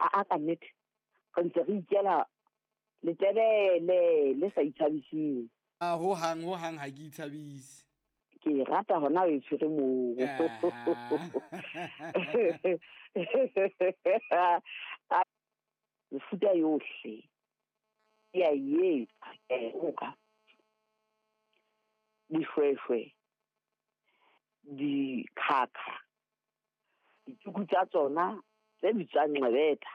A ka nnete re ntse re ikela letebele le sa ithabiseng. A ho hang ho hang ha ke ithabise. Ke e rata hona o e tshwere moo. Mefuta yohle ke a e etsa, ke a e roka. Dishweshwe, dikhakha, dituku tsa tsona tse bitswang nqebetha,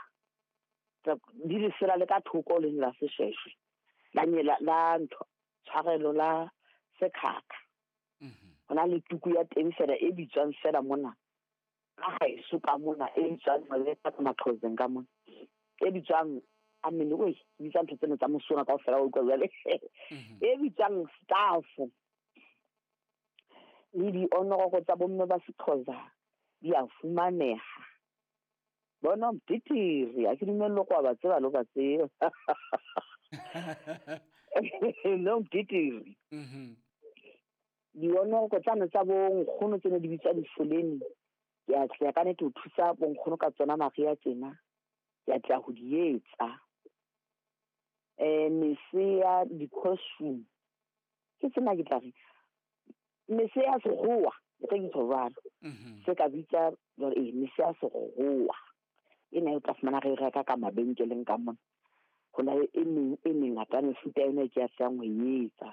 di lesela le ka thoko le la seshweshwe, la la ntho tshwarelo la sekhakha. Ho na le tuku ya teng feela e bitswang feela mona ka haeso ka mona e bitswang nqebetha ka Maxhoseng ka mona. E bitswang amene oi ke bitsa ntho tsena tsa mosona kaofela wa utlwa jwale. E bitswang staff. Le dionoroko tsa bomme ba Sexhosa di a fumaneha. Bona mdidiri, ha ke dumelle hore wa ba tseba le ho ba tseba. No mdidiri. Dionoroko tsane tsa bo nkgono tse ne di bitswa difoleni, ke a tla ka nnete ho thusa bo nkgono ka tsona mariha tjena. Ke a tla ho di etsa. Mese ya di-costume ke tsena ke tla re mese ya sekgowa, e re ke tjho jwalo. Se ka bitsa jwale mese ya sekgowa. Ena o tla fumana re e reka ka mabenkeleng ka mona. Ho na le e meng e mengata mefuta ena e ke a tlang ho e etsa.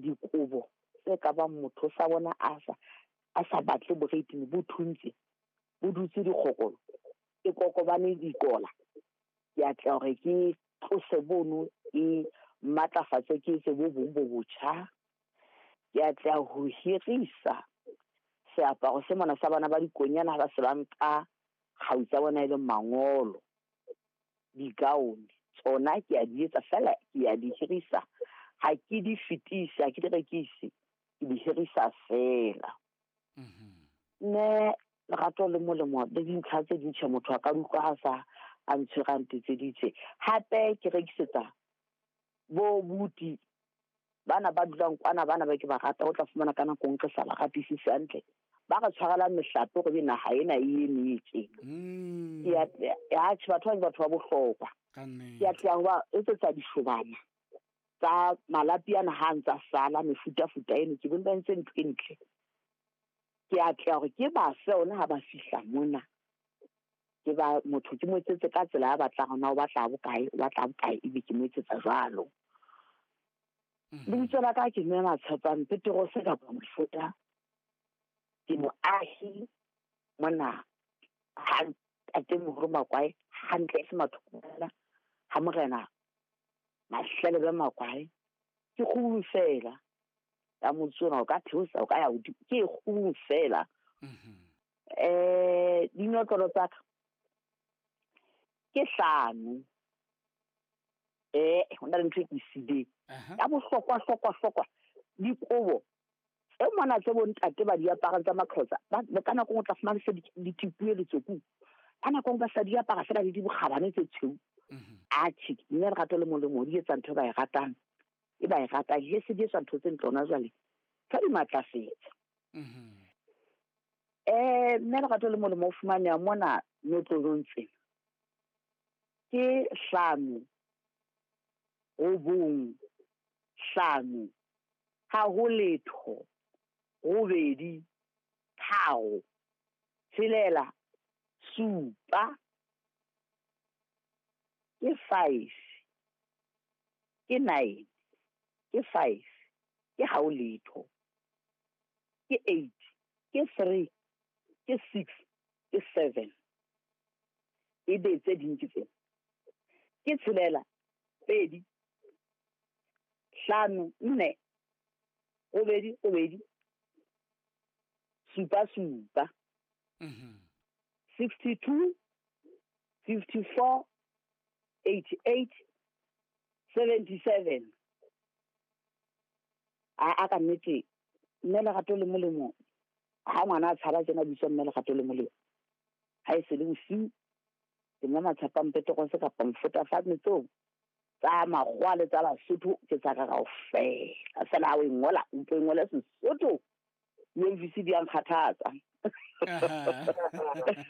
Dikobo tse ka bang motho sa bona a sa batle boreitini bo thuntse, bo dutse dikgokolo, e kokobane dikola. Ke a tla hore ke tlose bono, ke matlafatse, ke etse bo bong bo botjha. Ke a tla ho hirisa seaparo se mona sa bana ba dikonyana ha ba se ba nka kgau tsa bona e leng mangolo, di-gown tsona ke a di etsa feela, ke a di hirisa. Ha ke di fetise, ha ke di rekise, ke di hirisa feela. Mme lerato le molemo le dintlha tse ding tjhe motho a ka utlwa ha sa a ntshwere a ntetseditse. Hape ke rekisetsa bo buti bana ba dulang kwana, bana ba ke ba rata, o tla fumana ka nako e nngwe re sa ba ratisise hantle. Ba re tshwarelang mehlape hore ebe naha ena e eme tje. Atjhe, batho ba ke batho ba bohlokwa. Ke a tla ho ba etsetsa dishobana tsa malapi ana ha ntsa sala mefutafuta eno, ke bone ba entse ntho e ntle. Ke a tla hore ke ba fe ona ha ba fihla mona. Ke ba motho ke mo etsetse ka tsela ya batlang hore na o batla bokae, o batla bokae, ebe ke mo etsetsa jwalo. Lebitso la ka ke Mme Matshepang Peterose kapa Mofota. Ke moahi mona ha ntatemoholo Makwae, hantle e se mathokwana ha morena Mahlelebe Makwae. Ke kgubu feela ya motse ona, o ka theosa, o ka ya hodimo, ke kgubu feela. Dinotlolo tsa ka ke 5. Ho na le ntho e ke siileng. Ya bohlokwa, hlokwa, hlokwa, dikobo tse mona tse bontate ba di aparang tsa Maxhosa, ba ka nako o tla fumana se di tipuwe letsokung. Ka nako e nngwe ba sa di apara feela le dibokgabane tse tshweu. Atjhe, mme lerato le molemo di etsa ntho e ba e ratang. E ba e ratang, he se di etswa ntho tse ntle hona jwale. Tsa di matlafetsa. Mme lerato le molemo o fumaneha mona notlolong tsena. Ke 5, 9, 5, ha ho letho, 8, 3, 6, 7, ke 5, ke 9, ke 5, ke ha ho letho, ke 8, ke 3, ke 6, ke 7. Ebe tse ding ke tsena. Ke 6, 2, 5, 4, 8, 8, 7, 7. 62, 54, 88, 77. A ka nnete, mme lerato le molemo, ha ngwana a tshaba tjena bitswa mme lerato le molemo. Ha e se le bosiu, ke mme Matshepang Peterose kapa Mofota fa metsong tsa makgowa le tsa Basotho ke tsa ka kaofela. Feela ha o e ngola, o mpo e ngole Sesotho. UMVC di a nkgathatsa.